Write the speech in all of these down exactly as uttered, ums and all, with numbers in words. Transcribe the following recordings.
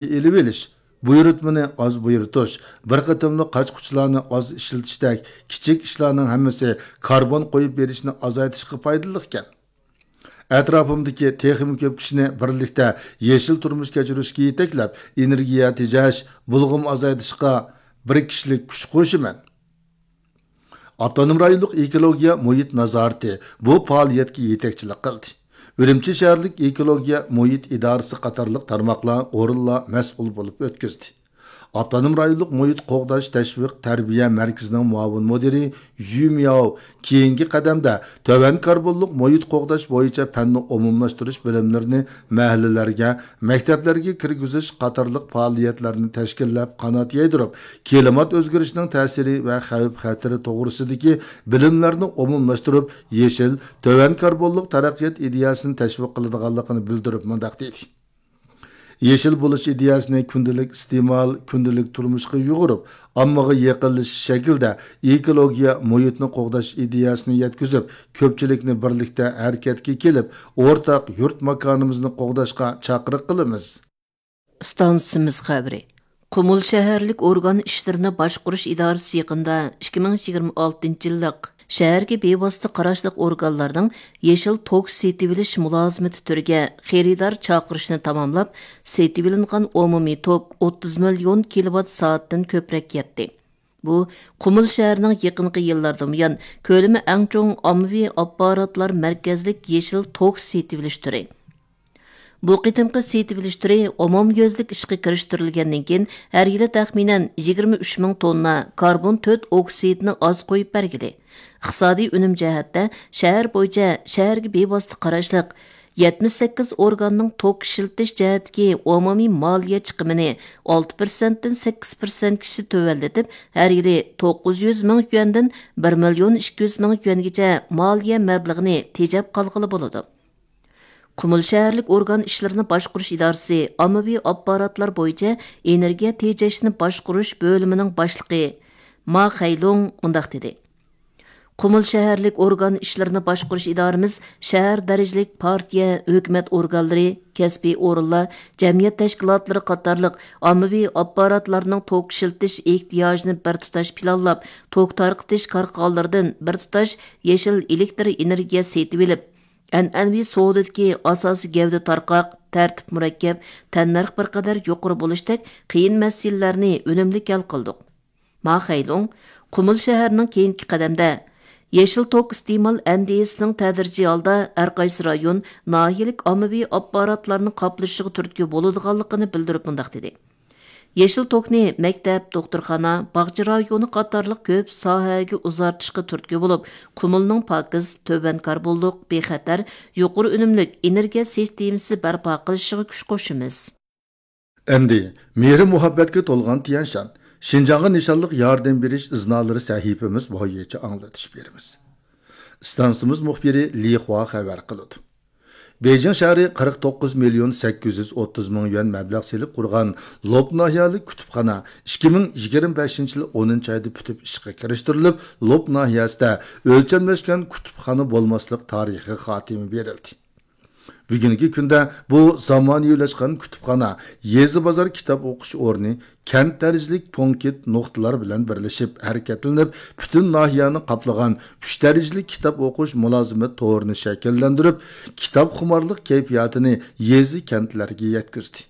ئېلىۋېلىش، بۇيرۇتمىنى ئاز بۇيرۇتۇش، بىر قېتىملىق قاچ-قۇچلارنى ئاز ئىشلىتىشتەك كىچىك ئىشلارنىڭ ھەممىسى كاربون قويۇپ بېرىشنى ئازايتىشقا پايدىلىقكەن. ئەتراپىمدىكى تېخىمۇ كۆپ كىشىنى بىرلىكتە يېشىل تۇرمۇش كەچۈرۈشكە يېتەكلەپ، ئېنېرگىيە تېجەش، بۇلغىما ئازايتىشقا بىر كىشىلىك كۈچ قوشىمەن. ئاپتونوم رايونلۇق ئېكولوگىيە مۇھىت نازارىتى بۇ پائالىيەتكە يېتەكچىلىك قىلدى. ئۈرۈمچى شەھەرلىك ئېكولوگىيە مۇھىت ئىدارىسى قاتارلىق تارماقلار، ئورۇنلار مەسئۇل بولۇپ ئۆتكۈزدى. ئاپتونوم رايونلۇق مۇھىت قوغداش تەشۋىق تەربىيە مەركىزىنىڭ مۇئاۋىن مۇدىرى يۈ مياۋ كېيىنكى قەدەمدە تۆۋەن كاربونلۇق مۇھىت قوغداش بويىچە پەننى ئومۇملاشتۇرۇش بۆلۈملىرىنى مەھەللىلەرگە، مەكتەپلەرگە كىرگۈزۈش قاتارلىق پائالىيەتلەرنى تەشكىللەپ قانات يايدۇرۇپ، كىلىمات ئۆزگىرىشىنىڭ تەسىرى ۋە خەۋپ-خەتىرى توغرىسىدىكى بىلىملەرنى ئومۇملاشتۇرۇپ، يېشىل، تۆۋەن كاربونلۇق تەرەققىيات ئىدىيەسىنى تەشۋىق قىلىدىغانلىقىنى بىلدۈرۈپ مۇنداق دېدى: يېشىل بولۇش ئىدىيەسىنى كۈندىلىك ئىستېمال، كۈندىلىك تۇرمۇشقا يۇغۇرۇپ، ئاممىغا يېقىنلىشىش شەكلىدە ئېكولوگىيە مۇھىتنى قوغداش ئىدىيەسىنى يەتكۈزۈپ، كۆپچىلىكنى بىرلىكتە ھەرىكەتكە كېلىپ، ئورتاق يۇرت ماكانىمىزنى قوغداشقا چاقىرىق قىلىمىز. ئىستانسىمىز خەۋىرى. قۇمۇل شەھەرلىك ئورگان ئىشلىرىنى باشقۇرۇش ئىدارىسى يېقىندا ئىككى مىڭ يىگىرمە ئالتىنچى يىللىق شەھەرگە بىۋاسىتە قاراشلىق ئورگانلارنىڭ يېشىل توك سېتىۋېلىش مۇلازىمىتى تۈرىگە خېرىدار چاقىرىشنى تاماملاپ، سېتىۋېلىنغان ئومۇمىي توك ئوتتۇز مىليون كىلوۋات سائەتتىن كۆپرەك يەتتى. بۇ، قۇمۇل شەھىرىنىڭ يېقىنقى يىللاردىن بۇيان كۆلىمى ئەڭ چوڭ ئاممىۋى ئاپپاراتلار مەركەزلىك يېشىل توك سېتىۋېلىش تۈرى. بۇ قېتىمقى سېتىۋېلىش تۈرى ئومۇميۈزلۈك ئىشقا كىرىشتۈرۈلگەندىن كېيىن، ھەر يىلى تەخمىنەن يىگىرمە ئۈچ مىڭ توننا كاربون تۆت ئوكسىدىنى ئاز قويۇپ بەرگىلى، ئىقتىسادىي ئۈنۈم جەھەتتە شەھەر بويىچە شەھەرگە بىۋاسىتە قاراشلىق يەتمىش سەككىز ئورگاننىڭ توك ئىشلىتىش جەھەتتىكى ئومۇمىي مالىيە چىقىمىنى ئالتە پىرسەنتتىن سەككىز پىرسەنتكىچە تۆۋەنلىتىپ، ھەر يىلى توققۇز يۈز مىڭ يۈەندىن بىر مىليون ئىككى يۈز مىڭ يۈەنگىچە مالىيە مەبلىغىنى تېجەپ قالغىلى بولىدۇ. قۇمۇل شەھەرلىك ئورگان ئىشلىرىنى باشقۇرۇش ئىدارىسى ئاممىۋى ئاپپاراتلار بويىچە ئېنېرگىيە تېجەشنى باشقۇرۇش بۆلۈمىنىڭ باشلىقى ما خەيلۇڭ مۇنداق دېدى: قۇمۇل شەھەرلىك ئورگان ئىشلىرىنى باشقۇرۇش ئىدارىمىز شەھەر دەرىجىلىك پارتىيە، ھۆكۈمەت ئورگانلىرى، كەسپىي ئورۇنلار، جەمئىيەت تەشكىلاتلىرى قاتارلىق ئاممىۋى ئاپپاراتلارنىڭ توك ئىشلىتىش ئېھتىياجىنى بىر تۇتاش پىلانلاپ، توك تارقىتىش كارخانىلىرىدىن بىر تۇتاش يېشىل ئېلېكتر ئېنېرگىيە سېتىۋېلىپ، ئەنئەنىۋى سودىدىكى ئاساسىي گەۋدە تارقاق، تەرتىپ مۇرەككەپ، تەننەرخ بىر قەدەر يۇقىرى بولۇشتەك قىيىن مەسىلىلەرنى ئۈنۈملۈك ھەل قىلدۇق. ما خەيلۇڭ قۇمۇل شەھىرىنىڭ كېيىنكى قەدەمدە يېشىل توك ئىستېمال ئەندىزىسىنىڭ تەدرىجىي ھالدا ھەرقايسى رايون، ناھىيەلىك ئاممىۋى ئاپپاراتلارنى قاپلىشىغا تۈرتكە بولىدىغانلىقىنى بىلدۈرۈپ مۇنداق دېدى: يېشىل توكنى مەكتەپ، دوختۇرخانا، باغچە رايونى قاتارلىق كۆپ ساھەگە ئۇزارتىشقا تۈرتكە بولۇپ، قۇمۇلنىڭ پاكىز، تۆۋەن كاربونلۇق، بىخەتەر، يۇقىرى ئۈنۈملۈك ئېنېرگىيە سىستېمىسى بەرپا قىلىشىغا كۈچ قوشىمىز. ئەمدى مېھرى مۇھەببەتكە تولغان تيەنشان، شىنجاڭغا نىشانلىق ياردەم بېرىش ئىزنالىرى سەھىپىمىز بويىچە ئاڭلىتىش بېرىمىز. ئىستانسىمىز مۇخبىرى لى خۇا خەۋەر قىلىدۇ. بېيجىڭ شەھىرى قىرىق توققۇز مىليون سەككىز يۈز ئوتتۇز مىڭ يۈەن مەبلەغ سېلىپ قۇرغان لوپ ناھىيەلىك كۇتۇپخانا ئىككى مىڭ يىگىرمە بەشىنچى يىل ئونىنچى ئايدا پۈتۈپ ئىشقا كىرىشتۈرۈلۈپ، لوپ ناھىيەسىدە ئۆلچەملەشكەن كۇتۇپخانا بولماسلىق تارىخىي خاتىمە بېرىلدى. بۈگۈنكى كۈندە بۇ زامانىۋىلاشقان كۇتۇپخانا يېزا بازار كىتاب ئوقۇش ئورنى، كەنت دەرىجىلىك پونكىت نۇقتىلار بىلەن بىرلىشىپ ھەرىكەتلىنىپ، پۈتۈن ناھىيەنى قاپلىغان ئۈچ دەرىجىلىك كىتاب ئوقۇش مۇلازىمەت تورىنى شەكىللەندۈرۈپ، كىتاب خۇمارلىق كەيپىياتىنى يېزا، كەنتلەرگە يەتكۈزدى.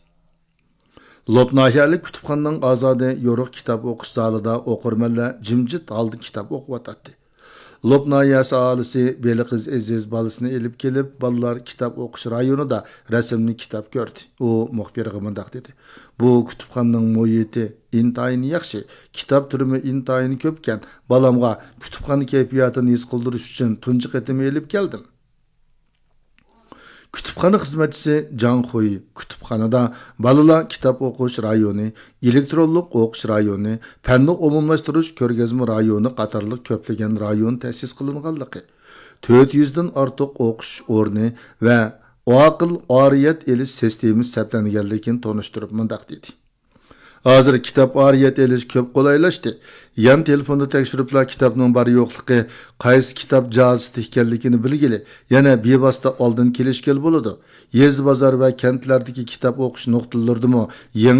لوپ ناھىيەلىك كۇتۇپخانىنىڭ ئازادە يورۇق كىتاب ئوقۇش زالىدا ئوقۇرمەنلەر جىمجىت ھالدا كىتاب ئوقۇۋاتاتتى. لوپ ناھىيەسى ئاھالىسى بېلىقىز ئېزىز بالىسىنى ئېلىپ كېلىپ، بالىلار كىتاب ئوقۇش رايونىدا رەسىملىك كىتاب كۆردى. ئۇ مۇخبىرغا مۇنداق دېدى: بۇ كۇتۇپخانىنىڭ مۇھىتى ئىنتايىن ياخشى، كىتاب تۈرىمۇ ئىنتايىن كۆپكەن. بالامغا كۇتۇپخانا كەيپىياتىنى ھېس قىلدۇرۇش ئۈچۈن تۇنجى قېتىم ئېلىپ كەلدىم. كۇتۇپخانا خىزمەتچىسى جاڭ خۇي كۇتۇپخانىدا بالىلار كىتاب ئوقۇش رايونى، ئېلېكترونلۇق ئوقۇش رايونى، پەننى ئومۇملاشتۇرۇش كۆرگەزمە رايونى قاتارلىق كۆپلىگەن رايون تەسىس قىلىنغانلىقى، تۆت يۈزدىن ئارتۇق ئوقۇش ئورنى ۋە ئاقىل ئارىيەت ئېلىش سىستېمىسى سەپلەنگەنلىكىنى تونۇشتۇرۇپ مۇنداق دېدى: ھازىر كىتاب ئارىيەت ئېلىش كۆپ قولايلاشتى. يان تېلېفوندا تەكشۈرۈپلا كىتابنىڭ بار يوقلۇقى، قايسى كىتاب جازىسىدا ئىكەنلىكىنى بىلگىلى، يەنە بىۋاسىتە ئالدىن كېلىشكىلى بولىدۇ. يېزا، بازار ۋە كەنتلەردىكى كىتاب ئوقۇش نۇقتىلىرىدىمۇ يېڭى